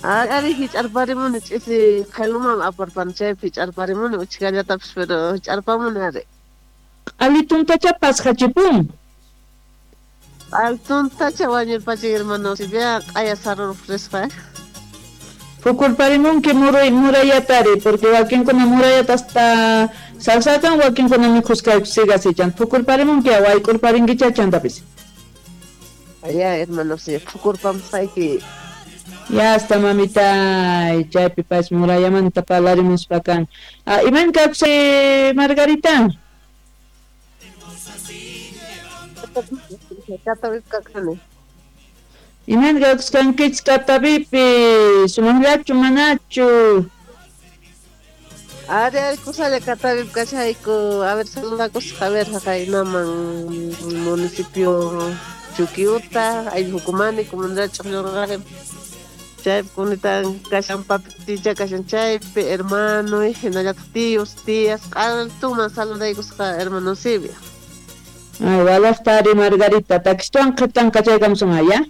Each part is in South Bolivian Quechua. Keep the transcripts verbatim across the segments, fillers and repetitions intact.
Ari hich'arparimuni ch'isi qhiluman aparpani chaypi hich'arparimuni uchkallatapis pero hich'arpamuni ari. Q'alituntacha pasqachipun. Q'alituntacha wañurpachin hermano Eusebia q'aya saruraq risqa. Phukurparimunki muray murayatari porque wakinkuna murayata hasta salsakan wakinkuna mikhusqayku sigasichan phukurparimunki wayk'urparinkicha chantapis. Ya hermano Eusebia phukurpamusqayki. Ya hasta mamita chaypi pas murayamanta parlarimuspa kan. Ah, iman kawsay Margarita? Iman kawskankichis Catavipi, sumaqllachu manachu? Ari ari kusalla Catavipi kashayku, a ver saludakusaq, a ver haqaynaman municipio Chuquiuta, ayllu Jucumani, comunidad Ch'uqllurqari. Chaypi kunitan kashan papiticha kashan chaypi hermano hinallataq tíos, tías, q'altuman saludaykusqa hermano Eusebia. Ay, walaqtari Margarita, takistuwan qhipan kachaykamusun ya?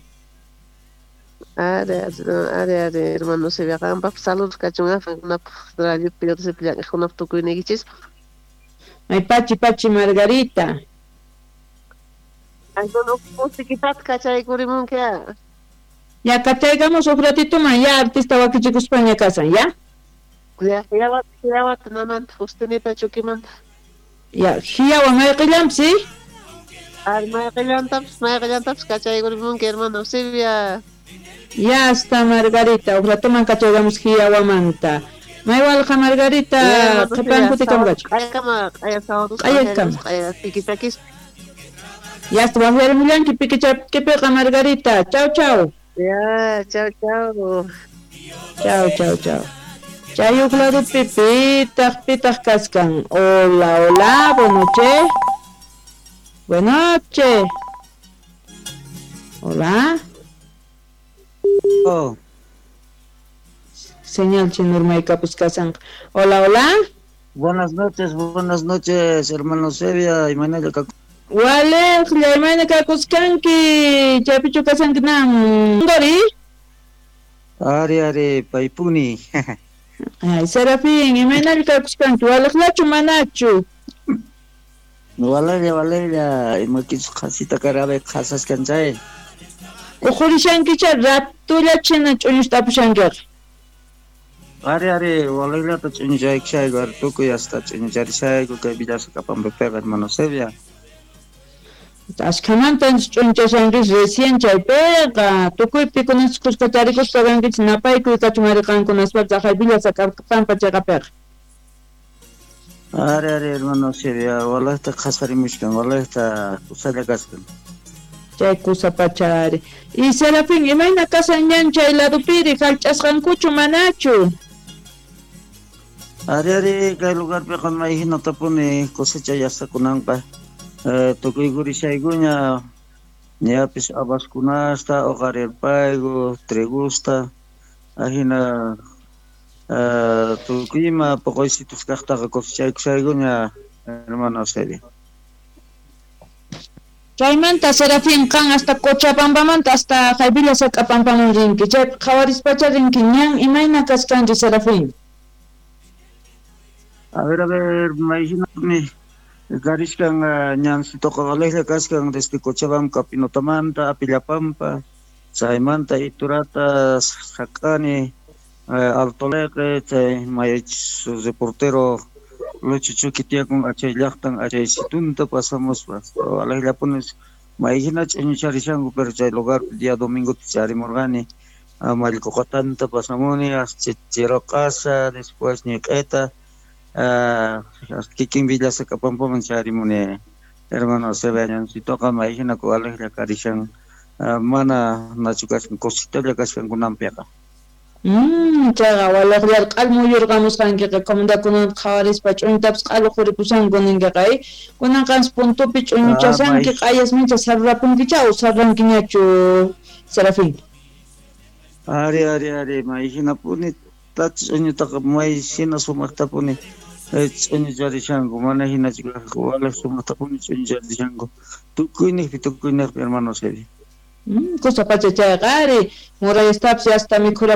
Ari, ari, ari, ari, hermano Eusebia, qanpaq saludos kachun qankunapaq radiopi llank'aqkunapaq tukuyniykichispaq. Ay, pachi, pachi, Margarita. Ay, no, musiquitata kachaykurimunki. Ya kachaykamos huk ratituman, ya artista wakichikuspaña kasan, ya? Ya, hiawata, hiawata namanta, Justinita Chukimanta. Ya, hiawa mayqillanpis, ¿sí? Ari, mayqillantapis, mayqillantapis kachaykurimunki, hermano Eusebia. Ya está Margarita, huk ratuman kachaykamos hiawamanta. Maywalqa Margarita, qhipan kutikamqachu. Q'ayakama, q'aya sábados, Q'ayakama. q'aya pikichakispa. Ya está, waqyarimullanki pikichakipiqa Margarita. Chau, chau. Ya, chau, chau. Chau, chau, chau. Chay huk ladopi pitaq, pitaq kaskan. Hola, hola, buenas noches. Buenas noches. Hola. Oh. Señal chinurmaykapus kasanqa. Hola, hola. Buenas noches, buenas noches, hermano Eusebia y Manuel Kaku. Waleqlla, imayna kakuskanki, chaypichu kasanki nan Dori? Ari, ari, paypuni. Ay, Serafín, imaynalla kakuskanki, waleqllachu manachu? Walella, walella, imakichus qhasita karabe qhasaskan chay. Uqhurishankicha ratullachina ch'uñusta apushankiqa. Ari, ari, walellata ch'uñuchaykushayku, ari tukuy hasta ch'uñucharishayku kay Villasacapampipiqa, hermano Eusebia. Ashkhamanta ch'unchashankichis recién chaypiqa tukuypi kunanchis kuska tarikuspa kankichis napaykuy kachun ari qankunaspa aqhay Villasacapampa chayqapiqa. Ari, ari, hermano Eusebia, walaqta qhasarimushkan, walaqta kusalla kaskan. Chay kusapacha ari. Y Serafín, imayna kasan ñan chay ladupiri, hallch'asqankuchu manachu? Ari, ari, kay lugarpiqa mayhinatapuni cosecha yastakunanqa. Eh, tukuy-kurishaykuña ñapis habaskunasta, uqarirpayku, trigusta, ajina eh, tukuy ima poqoysitus kaqtaqa cosechaykushaykuña, hermano Eusebia. Chaymanta Serafín qan hasta Cochabambamanta hasta Villasacapampaman rinki, chaypi qhawarispacha rinki ñan imayna kaskanri Serafín? A ver, a ver, mayhinapuni karishkan ñansitoqa walejlla kaskan desde Cochabamba Pinotamanta, Apillapampa, chaymanta Iturata saq'ani Alto Leqe, chay maychus reportero Lucho Chuqui tiyakun achay llaqtan achay situnta pasamuspa walejllapuni mayhina ch'uñucharishanku pero chay lugar día domingo charimurqani Mallqoqatanta pasamuni hasta Chirocasa, después Ñiq'eta, kikin Villasacapampaman charimuni hermano Eusebia ñansitoqa mayhina walejlla karishan mana nachu kashan cositalla kashan kunanpiqa. Mm, chayqa walejlla q'al muyurqamusqankiqa comunidadkunata qhawarispa ch'uñutapis q'alu quripushanku ninkiqa, eh? Kunan qansi puntupi ch'uñuchasanki q'ayasmincha sarrapunkicha o sarrankiñachu Serafín? Ari, ari, ari, mayhinapuni ch'uñutaqa mayhina sumaqtapuni ch'uñucharishanku, mana hinachu kaqku walej sumaqtapuni ch'uñucharishanku tukuyniqpi tukuyniqpi hermano Eusebia. Mm, kusa pacha chayqa ari murayastapis hasta mikhura